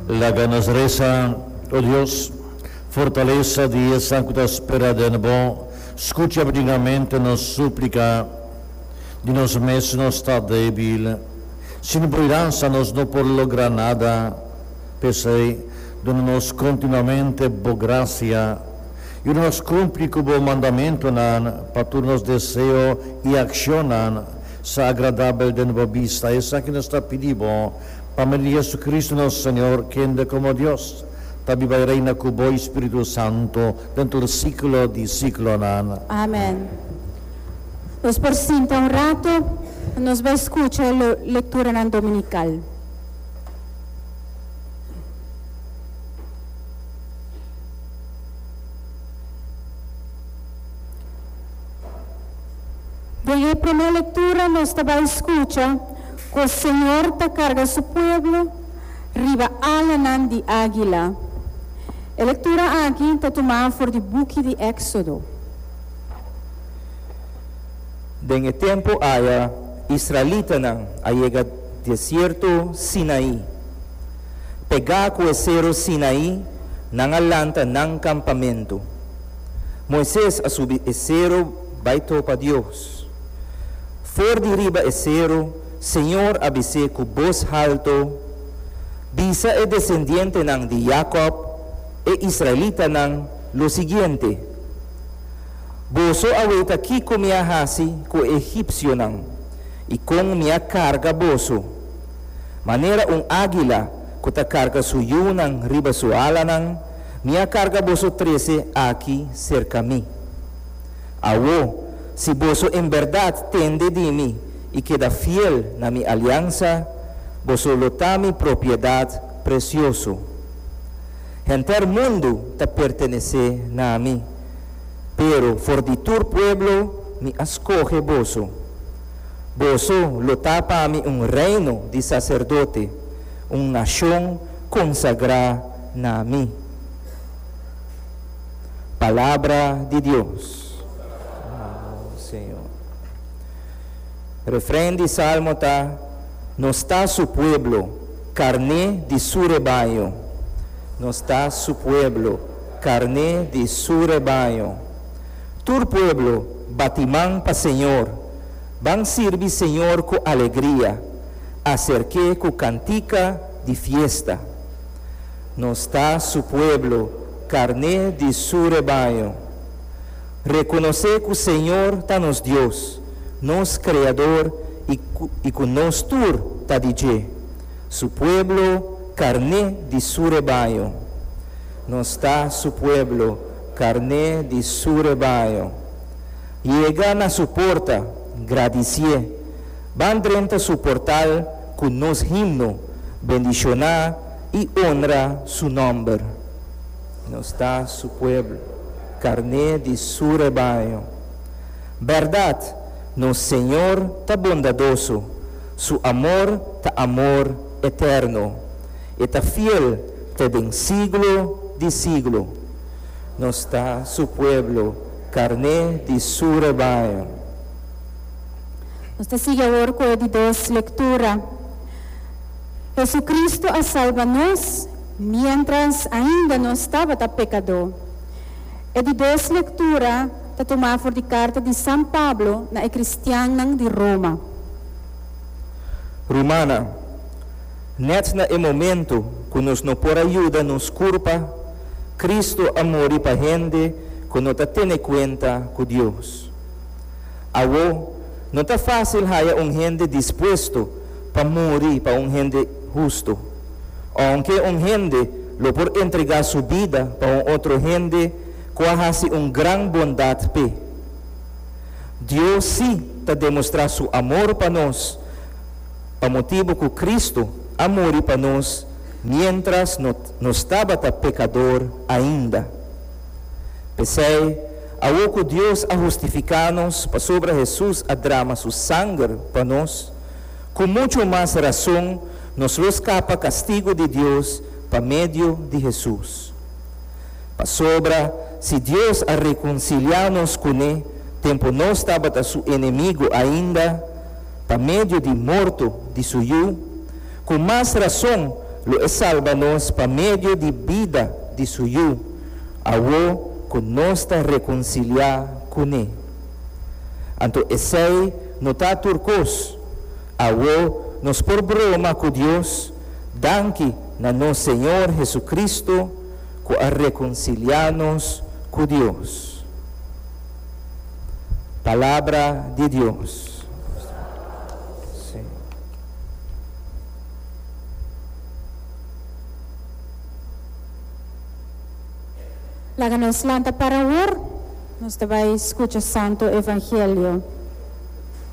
Laga nos resa, O Dios, fortalesa di esnan ku ta spera den Bo, skucha bringamente nos súplika. Di nos mes nos ta débil. Sin Bo yudansa nos no por logra nada. P'esei, duna nos kontinuamente Bo grasia. Yuda nos kumpli ku Bo mandamentunan pa tur nos deseo i akshonnan sa agradabel den Bo bista. Esaki nos ta pidi Bo Pa medio di Jesucristo nos Señor, kende como Dios ta biba i reina cu bo i Spiritu Santo den tur siglo di siglonan. Amen. Nos por sinta un rato, nos bai scucha e lecturanan dominical. Den e promé lectura nos ta bai scucha cu Señor ta carga su pueblo riba alanan di águila. E lectura aki ta tumá for di buki di Éxodo. Den e tempu aya israelitanan a yega desierto Sinaí. Pegá ku e seru Sinaí nan a lanta nan kampamentu. Moises a subi e seru bai topa Dios. For di riba e seru, señor a bis'é ku bos haltu, Bisa e desendientenan di Yakòb, e israelitanan, lo siguiente, Boso a weta kiko mi a hasi ku e egipsionan i kon mi a karga boso. Manera un águila ku ta karga su yunan riba su alanan, mi a karga boso trese aki serka mi. Awo, si boso en bèrdat tende di mi i keda fiel na mi aliansa, boso lo ta mi propiedat presioso. Henter mundu ta pertenesé na mi, pero for di tur pueblo mi a skohe boso. Boso lo ta pa mi un reino di saserdote, un nashon konsagrá na mi. Palabra di Dios. Alabá Señor. Refren di Salmo ta, Nos ta su pueblo, karné di su rebaño. Nos ta su pueblo, karné di su rebaño. Tur pueblo, bati man pa Señor. Ban sirbi Señor ku alegria, aserk'é ku kantika di fiesta. Nos ta su pueblo, karné di su rebaño. Rekonosé ku Señor ta nos Dios, nos Kreador i i ku nos tur ta di dje, su pueblo, karné di su rebaño. Nos ta su pueblo, karné di su rebaño. Yega na su porta, gradisié. Ban drenta su portal ku nos himno, bendishoná i onra su nòmber. Nos ta su pueblo, karné di su rebaño. Bèrdat, nos Señor ta bondadoso, su amor ta amor eterno. E ta fiel te den siglo di siglo. Nos ta su pueblo, karné di su rebaño. Nos ta sigui awor ku e di dos lektura. Hesucristo a salba nos miéntras ainda nos tabata pekadó. E di dos lektura ta tumá for di karta di San Pablo na e kristiannan di Roma. Rumannan, nèt na e momentu ku nos no por a yuda nos kurpa, Cristo a muri pa hende ku no ta tene kuenta ku Dios. Awo, no ta fásil haya un hende dispuesto pa muri pa un hende hustu. Ounke un hende lo por entregá su bida pa un otro hende ku a hasi un gran bondat p'e. Dios sí ta demostrá su amor pa nos pa motibu ku Kristu a muri pa nos miéntras nos tabata pekador ainda. P'esei, awor ku Dios a hustifiká nos pasobra Hesus a drama su sanger pa nos, ku muchu mas rason nos lo skapa kastigu di Dios pa medio di Hesus. Pasobra si Dios a rekonsiliá nos kuné tempu nos tabata su enemigu ainda, pa medio di morto di su Yu, ku mas rason lo e salba nos pa medio di bida di su Yu, awor ku nos ta rekonsiliá kuné. Anto esei no ta tur kos. Awor nos por broma ku Dios danki na nos Señor Hesukristu ku a rekonsiliá nos ku Dios. Palabra di Dios. Sí. Laga nos lanta para awor, nos ta bai skucha Santo Evangelio.